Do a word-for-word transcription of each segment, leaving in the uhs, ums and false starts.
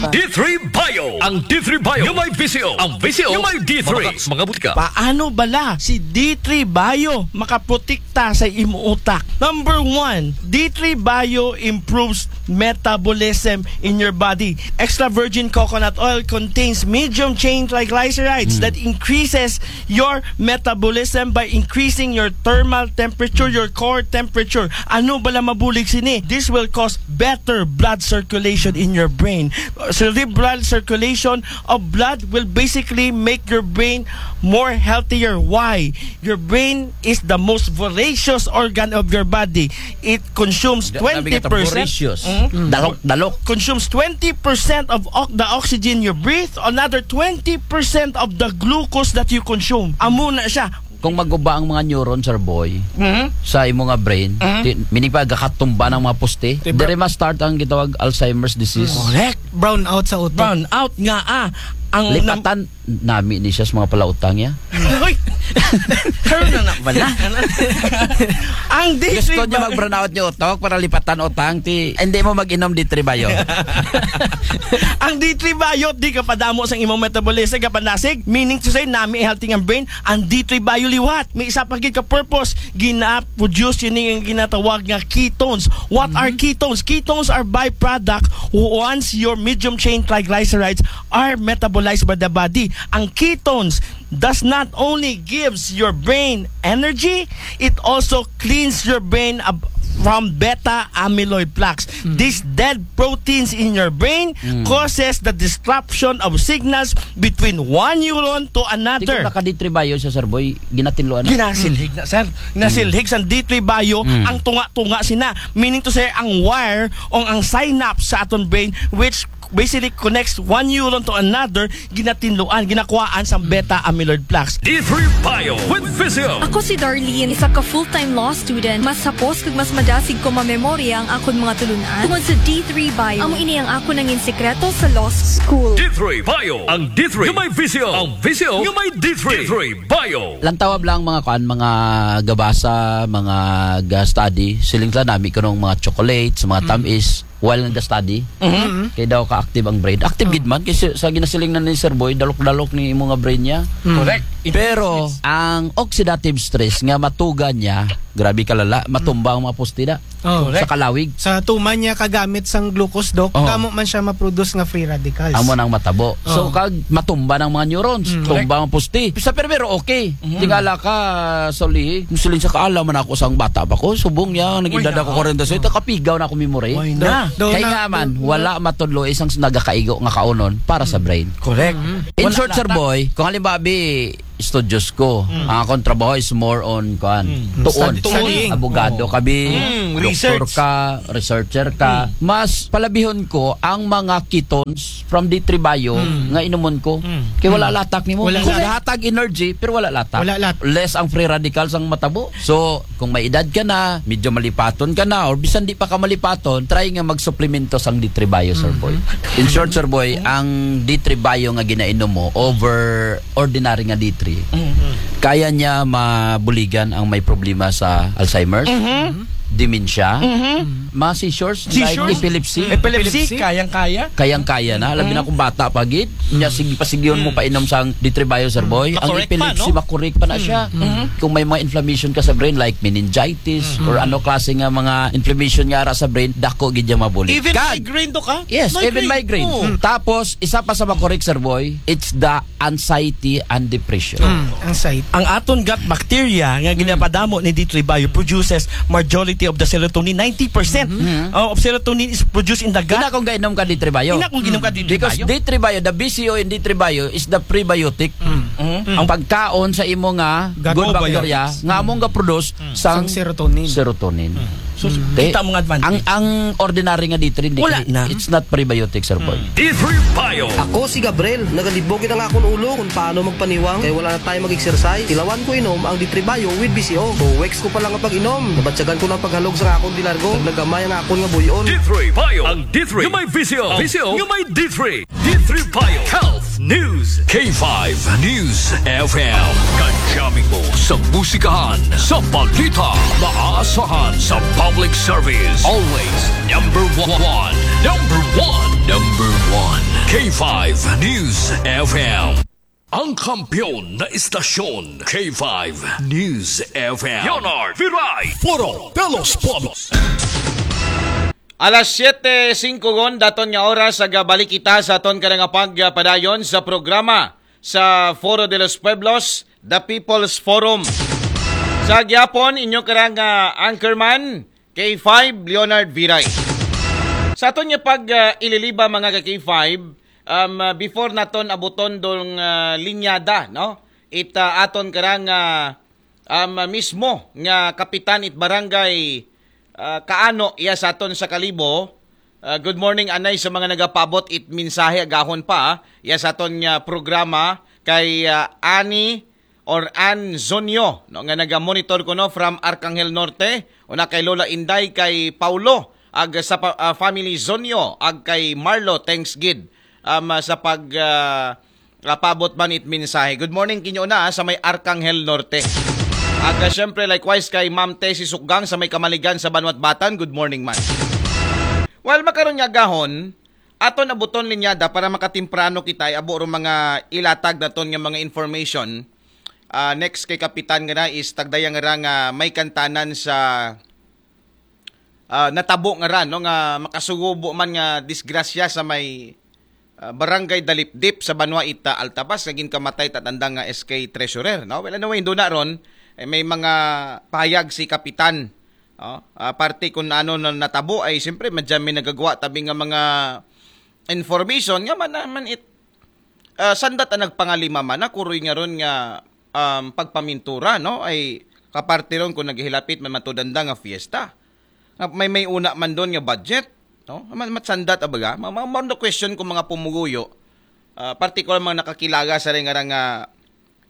D three Bio. Ang D three Bio nga may visyo. Ang visyo nga may D three. Mga, mga butika. Paano bala si D three Bio makaprotekta sa imo utak? Number one, D three Bio improves metabolism in your body. Extra virgin coconut oil contains medium chain triglycerides that increases your metabolism by increasing your thermal temperature, your core temperature. Ano bala mabulig sini? This will cause better blood circulation in your brain. Cerebral circulation of blood will basically make your brain more healthier. Why? Your brain is the most voracious organ of your body. It consumes twenty percent. Voracious. Dalok, dalok. Consumes twenty percent of ox- the oxygen you breathe, another twenty percent of the glucose that you consume. Amo na siya. Kung maguba ang mga neuron, Sir Boy, sa imo nga brain, ti-, meaning pa, gakatumba ng mga poste, dire ma-start ang gitawag Alzheimer's disease. Correct. Brown out sa utok. Brown out nga, ah. Ang nam- Lipatan, nami ni siya sa mga palautang niya. Hoy! Karon na na bala. Ang D three Gusto niya mag-brown out niya utok para lipatan utang, ti, hindi mo mag-inom D three Bio. Ang D three Bio, di ka padamo sa imong metabolism, ka panasig, meaning to say, nami healthy nga brain, ang D three Bio liwat. May isa pa gid ka purpose, gina-produce yun yung ginatawag nga ketones. What are ketones? Ketones are byproduct once your medium chain triglycerides are metabolized by the body. Ang ketones does not only gives your brain energy, it also cleans your brain ab- from beta amyloid plaques. These dead proteins in your brain causes the disruption of signals between one neuron to Di ko another. Naka-D three Bio sa, Sir Boy, ginatinluan na. Ginasilhig na, sir. Ginasilhig sa D three Bio ang tunga-tunga sina. Meaning to say, ang wire o ang synapse sa aton brain, which basically connects one neuron to another, ginatinluan, ginakuhaan sa beta amyloid plaques. D three Bio with Visio. Ako si Darlene, isa ka full-time law student. Mas hapos kag mas madasig ko mamemorya ang akon mga tulunan tungod sa D three Bio. Amo ini ang akon nangin sekreto sa law school. D three Bio. Ang D three nga may visyo. Ang visyo nga may D three. D three Bio. Lantawa lang mga kuan, mga gabasa, mga ga-study. Siling sila nami kunong mga chocolates, mga tamis, while nag-study. Kay daw ka-active ang brain. Active gid man, kay sa, sa ginasiling na ni Sir Boy, dalok-dalok ni imo nga brain niya. Correct. Pero ang oxidative stress nga matuga niya, grabe kalala, matumba ang mga poste da. Oh. Sa kalawig. Sa tuman niya kagamit sang glucose, Doc, kamo man siya ma-produce nga free radicals. Amo nang matabo. So, kag matumba ng mga neurons, tumba ang poste. Sa primero, okay. Tingala ka, Solihi, musulin sa kaala man ako sang bata pa ko, subong niya, naging dada ko kwarenta sa ito, kapigaw na ako memory. Why na? Kaya nga man, wala matudlo isang nagakaigo nga kaunon para sa brain. Correct. In short, Sir Boy, kung halimbawa, bi, studios ko. Ang akong trabaho is more on, kuan, tuon. Studying. Abogado ka, bi, doktor ka, researcher ka. Mas palabihon ko ang mga ketones from D three Bio nga inumon ko. Kay wala latak nimo. Wala latak. Lahat tag energy, pero wala latak. Wala latak. Less ang free radicals ang matabo. So, kung may edad ka na, medyo malipaton ka na, or bisan di pa ka malipaton, try nga magsuplemento sang D three Bio, Sir Boy. In short, Sir Boy, ang D three Bio nga ginainom mo, over ordinary nga D three, kaya niya mabuligan ang may problema sa Alzheimer's, dementia, mga seizures, like epilepsy. Epilepsy, kayang-kaya. Kayang-kaya na. Labi na kung bata pa gid. Nya, sige, pasigyon mo pa inom sang D three Bio, Sir Boy. Ang epilepsy, makorek pa na siya. Kung may mga inflammation ka sa brain, like meningitis, or ano klase nga mga inflammation nga ara sa brain, dako gid niya mabulig. Even migraine to ka? Yes, even migraine. Tapos, isa pa sa makorek, Sir Boy, it's the anxiety and depression. Anxiety. Ang aton gut bacteria nga ginapadamo ni D three Bio produces majority of the serotonin, ninety percent of serotonin is produced in the gut. Ina kung gainom ka D three Bio. Ina kung ginom ka D three Bio. Because D three Bio, the B C O in D three Bio is the prebiotic. Ang pagkaon sa imo nga good bacteria nga among ga-produce sang serotonin. Serotonin. So, kita mo nga advantage. Ang, ang ordinary nga D three, hindi. Wala na. It's not prebiotic, Sir Boy. D three Bio. Ako si Gabriel. Nagalibog ang akon ulo kung paano magpaniwang kay wala na tayo mag-exercise. Tilawan ko inom ang D three Bio with B C O. Two weeks ko pa lang ang pag-inom. Nabatyagan ko ng paghalog sa akon di largo. Naggamay ang akon nga buyon. D three Bio. Ang D three nga may visyo. Visyo nga may D three. D three Bio Health News. K five News F M. Kadyaming mo sa musikahan, sa balita, maaasahan sa public service. Always number one. Number one. Number one. K five News F M. Ang kampiyon na istasyon, K five News F M. Leonard Viray. Foro de los Pueblos. Alas siyete singko gon daton nga oras, ag balik kita sa aton kanang pagpadayon sa programa sa Foro de los Pueblos, The People's Forum. Sa gyapon, inyo karang, ah, anchorman, K five, Leonard Viray. Sa aton nga pag, ah, ililiba, mga ka K five, um, ah, before naton abuton dong, ah, linyada, no? It, ah, aton karang, ah, um, mismo nga kapitan it barangay, ah, Kaano, iya sa aton sa Kalibo. Ah, good morning, anay, sa mga nagapabot it mensahe agahon pa, ah, iya sa aton nga programa kay, ah, Ani or Ann Zonyo, no, nga naga-monitor kuno from Arcangel Norte, una kay Lola Inday, kay Paulo, ag sa pa-, ah, family Zonyo, ag kay Marlo, thanks gid, um, sa pag, ah, ah, pabot man it mensahe. Good morning kinyo na, ah, sa may Arcangel Norte. Ag, ah, syempre, likewise kay Ma'am Tessie Sukgang sa may Kamaligan sa Banwat Batan, good morning man. Well, makaron nga agahon, aton abuton linyada para makatemprano kita, ay abo ro mga ilatag naton nga mga information. Ah, next kay Kapitan nga na is tagdaya nga ra nga may kantanan sa, ah, natabo nga ra, no, nga makasugubo man nga disgrasya sa may, ah, Barangay Dalipdip sa Banwa Ita, Altavas, nga ginkamatay tatandang nga S K treasurer, no? Well, anyway, indo na ron, eh, may mga payag si Kapitan, no? Ah, parte kung ano na natabo ay siyempre madyan may nagagawa tabi nga mga information nga man, man it, ah, sandat ang nagpangalima man na kuroy nga ron nga, um, pagpamintura, no? Ay kaparte ron kung naghilapit man matudanda nga fiesta. Nga may, may una man doon nga budget, no? Man, matsandat, abaga? Ma, ma, ma, question ko mga pumuguyo, ah, partikular mga nakakilaga sa rin nga, nga,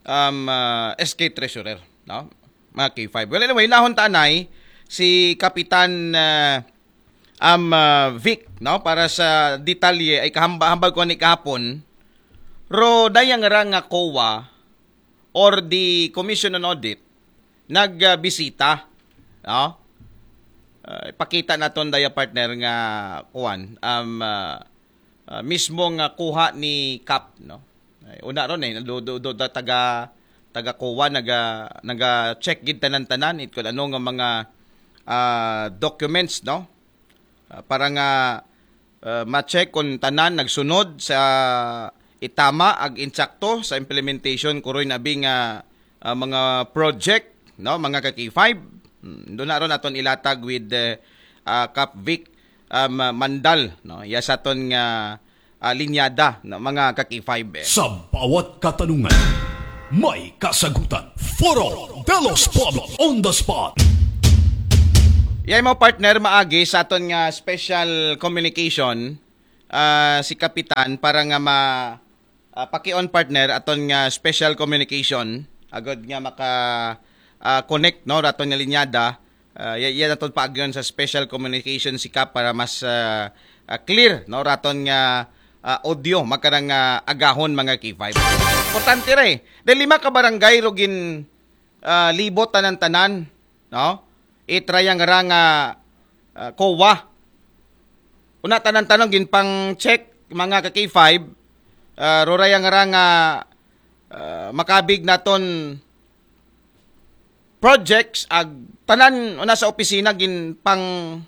um, ah, S K treasurer, no? Mga K five. Well, anyway, nahon tanay si Kapitan, ah, um, ah, Vic, no? Para sa detalye ay kahamba-hambal ko ni kahapon. Ro dayang ra nga COA or the Commission on Audit nagbisita, no? Ah, ipakita naton daya, partner, nga kuan, um, ah, ah, mismo nga kuha ni Kap, no? Ay, una ron, eh, do, do, do, da-, taga, taga COA, naga, naga-check gid tanan-tanan, it kung ano nga mga, ah, documents, no? Ah, para nga, ah, ma-check kung tanan nagsunod sa itama ag insakto sa implementation kuroy nabi nga, ah, mga project, no, mga ka K five. Hmm, doon na ron aton ilatag with, eh, ah, Kap Vic, um, Mandal, no? Iya sa aton nga, ah, linyada, no, mga ka K five, eh. Sa bawat katanungan, may kasagutan. Foro de los Pueblos on the spot. Yay mo, partner, maagi sa aton nga special communication, ah, si Kapitan para nga ma, ah, pakion, partner, aton nga special communication agod nga maka, ah, connect, no, raton nga linyada. Ah, ya-, yan aton paagyon sa special communication si Kap para mas, ah, ah, clear, no, raton nga, ah, audio makarang, ah, agahon, mga K five. Importante ra, eh. Dahil lima ka barangay ro gin, ah, libot tanan-tanan, no? Itrayang ra nga, ah, COA. Una tanan-tanan ginpang-check, mga ka K five, ah, rorayang ra nga, ah, makabig naton projects ag tanan una sa opisina ginpang,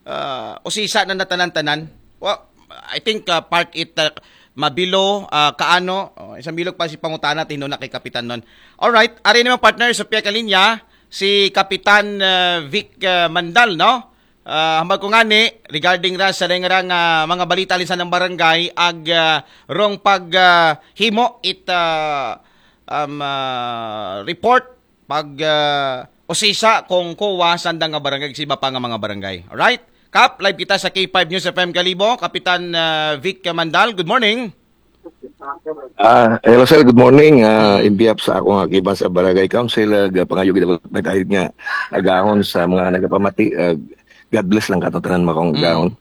ah, usisa na natanan-tanan. Wa-, I think, ah, part it, ah, Mabilo, ah, Kaano, oh, isang bilog pa si pangutana tindo na kay Kapitan nun. All right, ari naman, partner, sa piya ka linya si Kapitan, ah, Vic, ah, Mandal, no? Ah, hambal ko ngani regarding ra sa dayang ra nga mga balita alinsan ng barangay ag, ah, rong pag, ah, himo it, ah, um, ah, report pag, ah, usisa kung COA sanda nga barangay, sa iba pa nga mga barangay. Alright? Kap, live kita sa K five News F M Kalibo. Kapitan, ah, Vic Mandal, good morning. Ah, hello sir, good morning. Ah, in behalf sa akong akibat sa Barangay Council, uh, pangayo gid ako nga agahon sa mga nagapamati. Ah, God bless lang kato tanan makong agahon.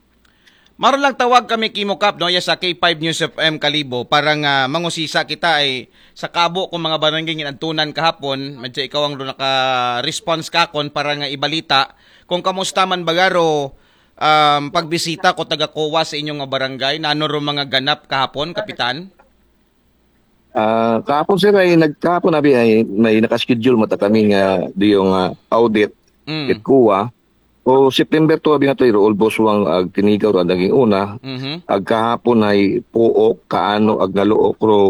Maro lang tawag kami kimo, Kap, no, ya sa K five News F M Kalibo para nga mangusisa kita ay sa kabo kung mga barangay ginadtunan kahapon, medyo ikaw ang naka-response kakon para nga ibalita kung kamusta man bagaro um, pagbisita ko taga COA sa inyong nga barangay. Nano ro mga ganap kahapon, Kapitan? Ah, kahapon, sir, ay nagkahapon abi ay may nakaschedule mata kami nga diyo nga audit Mm. kit COA. O September two abi nga to, iro almost wang ag tinigaw ra naging una. Mhm. Ag kahapon ay puok kaano ag naluok ro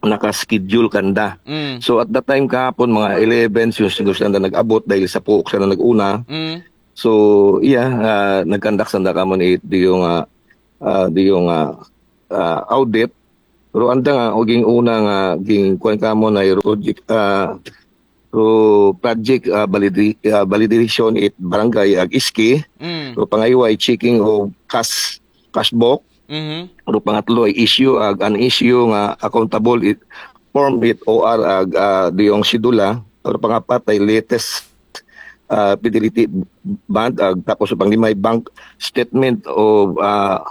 nakaschedule kanda. Mm. So at that time kahapon mga eleven, so siguro sila na nag-abot dahil sa puok sila nag-una. Mm. So yeah, ah, nag-conduct sanda kamo ni diyo nga ah, diyo nga ah, audit. Pero anda nga o ging una nga ging kuan kamo na ro, ah, ro project ah, validi- ah, validation it barangay ag iski. Mm. Ro pangaywa ay checking of cash cash book. Mhm. Ro pangatlo ay issue ag an issue nga accountable it form it O R ag ah, diyong sidula. Ro pangapat ay latest ah, fidelity bond ag tapos panglima ay bank statement of ah,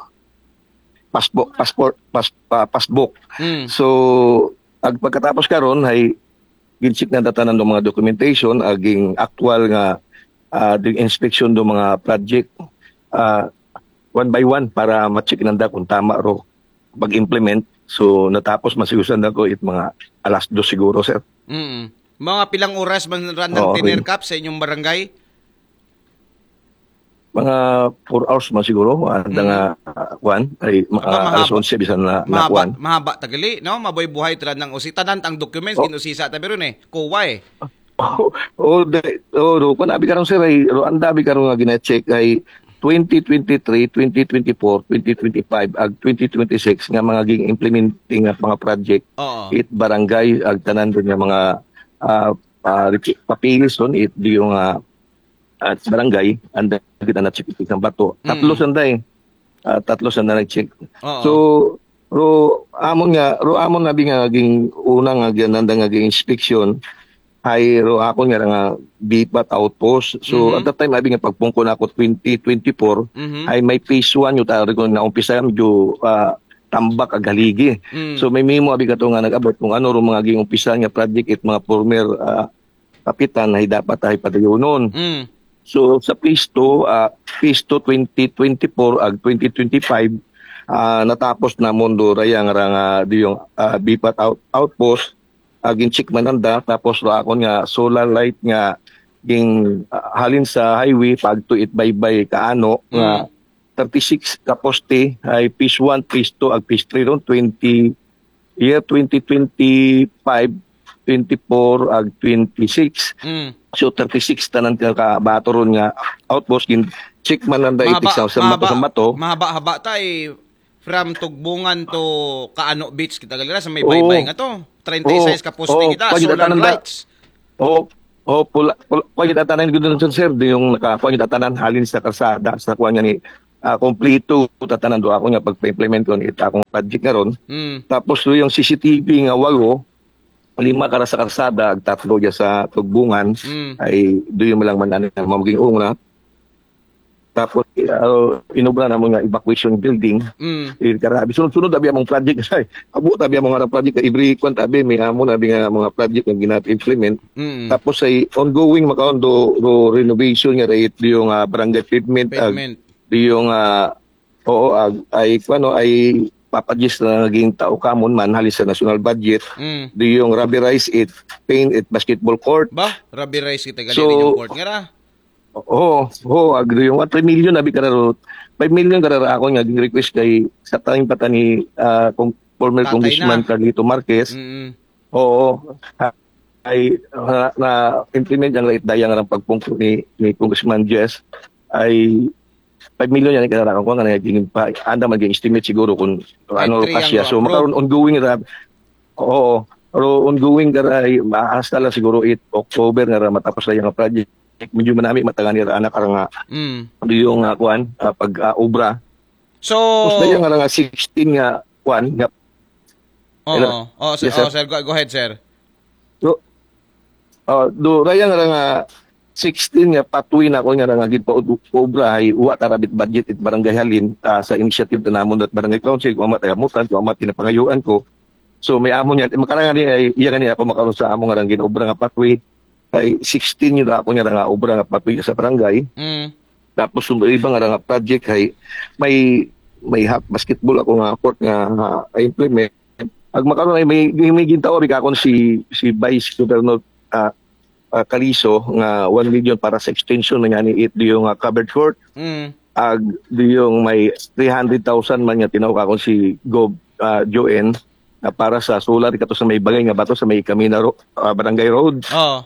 passport passport pas, ah, passbook. Mm. So ag pagkatapos karon ay gincheck na data ng mga documentation aging actual nga ah, the inspection do mga project ah, one by one para ma-check nanda kung tama ro pag-implement. So natapos masigusan na ko it mga alas dos siguro, sir. Mm. Mga pilang oras man ra nang Oo, tinerkap sa inyong barangay? Mga four hours man siguro, anda nga ah, kwan, ay mga Aba, mahaba. alas onse bisan na, na Mahaba, kwan. mahaba tagali, no? Mabuhay-buhay tala ng usi. Tanan ang documents, Oh. Inusisa ta biro ni. COA eh. Oh, oh, de, oh, ro, kung abi karon, sir, ay ro ang dabi karon nga gina-check ay twenty twenty-three, twenty twenty-four, twenty twenty-five ag twenty twenty-six nga mga ging implementing nga mga project Oo. it barangay ag tanan din nga mga ah, ah, papilis doon it diyo nga at barangay anda kita na check ng bato. Tatlo Mm. sanda eh. Ah, tatlo sanda nag-check. Oo. So ro amon nga ro amon na nga ging una nga ginanda nga ging inspection ay ro ako nga nga BPAT outpost. So Mhm. at that time abi nga pagpungko na ako twenty twenty-four Mhm. ay may phase one yung tawag ko na umpisa yung ah, tambak ag haligi. Mm. So may memo abi ka to nga nag-abot kung ano ro mga ging umpisa nga project it mga former ah, kapitan ay dapat ay padayonon. Mm. So sa phase two, ah, phase two twenty twenty-four ag twenty twenty-five, ah, natapos na mundo rayang rang ah, diyong ah, BPAT out, outpost ag in-check man anda tapos ra akon nga solar light nga ging ah, halin sa highway pagto it baybay kaano nga Mm. thirty-six ka poste ay phase one, phase two ag phase three ron twenty year twenty twenty-five, twenty-four ag twenty-six. Mm. So thirty-six tanan ka bato ron nga outpost gin check man nanda itik sa sa bato sa bato. Mahaba-haba tay from Tugbungan to Kaano Beach kita galera sa may Oo. baybay nga to. Treinta y seis Oo. ka poste Oo. kita, Pwede solar tanan da- lights. Oo. Oh, pula, pula, pula kita tanan gud sa sir, di yung naka, pula kita tanan halin sa karsada, sa kuan nga ni ah, kompleto tatanan do ako nga pagpa-implement ko ni akong project nga ron. Mm. Tapos do yung C C T V nga walo, lima kara sa karsada, ag tatlo dya sa Tugbungan, Mm. ay do yung malang man ano, mamaging una. Tapos uh, inobra namon nga evacuation building. Mm. Eh, karabi, sunod-sunod abi among project ay. Abo tabi among nga project every kwan tabi may amo na abi nga mga project nga ginat-implement. Mm. Tapos ay ongoing makaon do, do renovation nga rate do yung ah, barangay pavement ag Pavement. do yung ah, oo ag, ay ano ay papadjis na naging tao kamon man halis sa national budget Mm. do yung rubberized it paint it basketball court. Ba, rubberized kita gali So, yung court nga ra. Oo, oo, agree yung three million abi kararo. Five million kararo ako nga ging request kay sa time pa ta ni ah, kung former Tatay Congressman na. Carlito Marquez. Mm. Oo. Ha- Ay na, na implement ang rate dayang ang pagpungko ni ni Congressman Jess ay five million yan kararo ko nga naging pa anda man ging estimate siguro kung Ay, ano three kasya. ang So approve. Makaroon ongoing ra. Oo. Pero ongoing ka ra ay hasta lang siguro it October nga ra matapos na yung project. Medyo manami matangani ra anak ra nga Mm. do yung ah, kuan ah, pag ah, obra. So, Tapos na yung nga nga sixteen nga kuan nga Oo. Hello? Oh, sir, Yes, sir. Oh, sir, go, go ahead, sir. do, uh, do raya nga nga sixteen nga pathway na ko nga nga gid pa obra ay wa tarabit budget it barangay halin ah, sa initiative ta namon at barangay council kung amat ayamutan kung amat kinapangayuan ko. So may amo niya makarangan ni ay iya nga ni ako makaroon sa amo nga rang ginobra nga pathway ay sixteen yun ako nga nga obra nga pathway sa barangay. Mm. Tapos yung iba nga nga project ay may may half basketball ako nga court nga, ah, implement. Ag makaron ay may, may, may gintao rin akon si si Vice Governor, ah, ah, Calizo nga one million para sa extension man nga ni it yung, ah, covered court. Mm. Ag yung may three hundred thousand man nga tinawag akon si Gov, ah, Joen na para sa solar kato sa may bagay nga bato sa may Camina Ro-, ah, Barangay Road. Oo.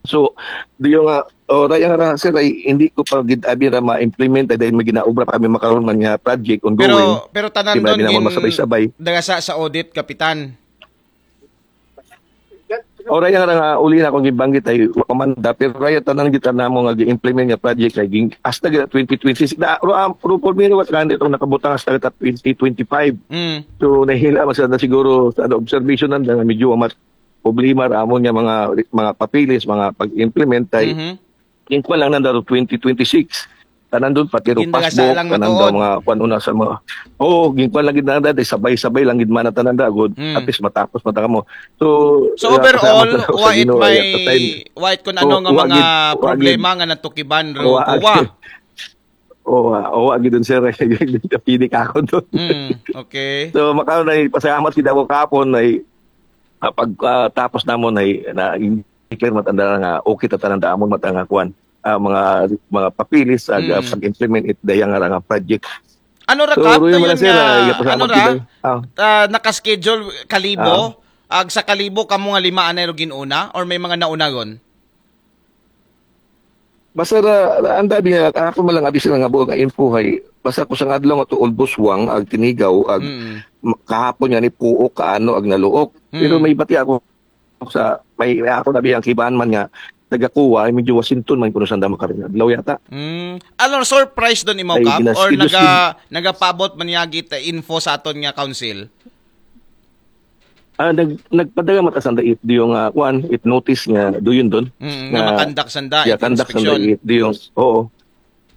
So, di yung nga, oh, raya nga ra, sir, ay hindi ko pa gid abi ra ma-implement ay dahil may ginaobra pa kami makaron man nga project ongoing. Pero pero tanan Di ba, doon di naman gin masabay-sabay. Dagasa sa audit, Kapitan. O raya nga ra nga uli na akong gibanggit ay wa pa man da, pero raya tanan kita namo nga gi-implement nga project ay ging hasta gid twenty twenty-six. Da, ro, am, ro, por miro, what, kanit ang nakabutang hasta gid twenty twenty-five. Mm. So, nahila man sa na siguro sa observation nanda nga medyo amat problema ra amon nga mga mga papeles, mga pag-implement ay Mhm. gingkuan lang nanda ro twenty twenty-six. Tanan doon, pati ro Gindagasa passbook, lang tanan matuod. Daw mga kuan una sa mga, oo, gingkuan lang gid nanda, sabay-sabay lang gid man tanan da, good. Mm. At least matapos man ta kamo. So, So, uh, overall, pasalamat sa wa it Ginoo, may at the time, wa it kun so, ano nga wa mga gid, wa gid. problema nga natukiban ro Wa kuwa. Oo, oo, gid dun, sir. Pili ka ako doon. Mm, okay. So, makaon ay pasalamat kita ko kapon ay, ah, pag, ah, tapos namon ay na declare matanda nga okay ta tanan damon matanga kuan. Ah, mga mga papilis ag, ah, Mm. pag-implement it dayang nga nga project. Ano ra, So, Kap? Roy Dayon Manacera, nga, ay, pasalamat ano ra? kita. Ah. Ah, nakaschedule kalibo? Ag sa kalibo, kamo nga lima anay ro gin-una? Or may mga naunagon? Basta ra, ra, ang dabi nga, ako man lang abi sila nga buo nga info hay, basta ko sa adlaw nga to Ulbos Wang, ag Tinigaw, ag Mm. m- kahapon nga ni Puok, kaano, ag Naluok. Pero Mm. may bati ako sa, may, may ako nabi ang kiban man nga, taga Kuwa, ay medyo Washington man kuno sanda makarin adlaw yata. Mm. Ano, surprise doon imo, Ay, Kap? Or ginaskidus naga, nagapaabot man niya gid info sa aton nga council? Ah, nag, nagpadala mata sanda it, di yung, ah, kuan, it notice nga, do yun doon. Mm, Nga, nga makandak sanda, yeah, it kandak sanda inspection. It, di yung, oo.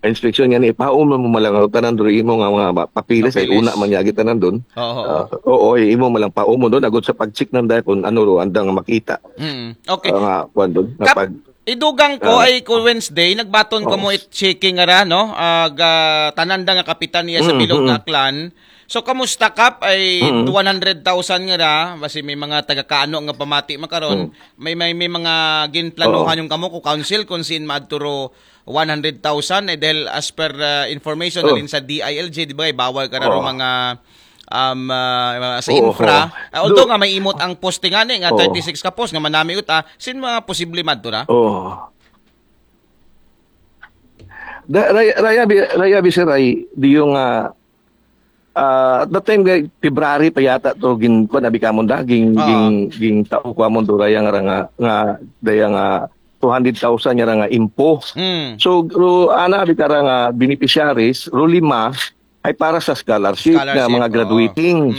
Inspeksyon nga ni, paon mo malang tanan doon imo nga mga papilis, ay Papilis. Una man niya kita nandun. Oo. Ah, oo, ay imo malang paon mo doon, agod sa pag-check nanda kung ano ro, andang makita. Mm, okay. Ah, nga, kuan doon, nga Kap, pag, idugang ko Ah. Ay ko Wednesday, nagbaton ko Oo. mo it checking nga ra, no? Ag, ah, tanan da nga kapitan niya sa Mm, bilog mm. Nga clan. So, kamusta, Kap? Ay Mm. One hundred thousand nga ra, basi may mga taga-Kaano nga pamati makaron. Mm. May, may, may mga ginplanuhan Oo. Yung kamo ko council kung sin maadto ro one hundred thousand, eh, dahil as per, ah, information Oo. Nalin sa D I L G, di ba, eh, bawal ka ra ro Oo. mga um, ah, sa Oo, infra. oo. Ah, although Do- nga may imot ang poste nga ni, nga Oo. thirty-six ka post, nga manami ut, ah, sin mga posible madto ra? Oh. Da, raya, raya, bi- raya, bi, sir, ay, di yung, ah, ah, at that time, kay February pa yata to, gin, kuan, abi kamon da, ging, Oo. ging, ging tao ko amon do, raya nga, nga, nga, daya nga, two hundred thousand nga nga info. Mm. So, ro, ana, abi ka ra nga beneficiaries, ro lima, ay para sa scholarship, Scholarship, nga mga oo. Graduating. Mm.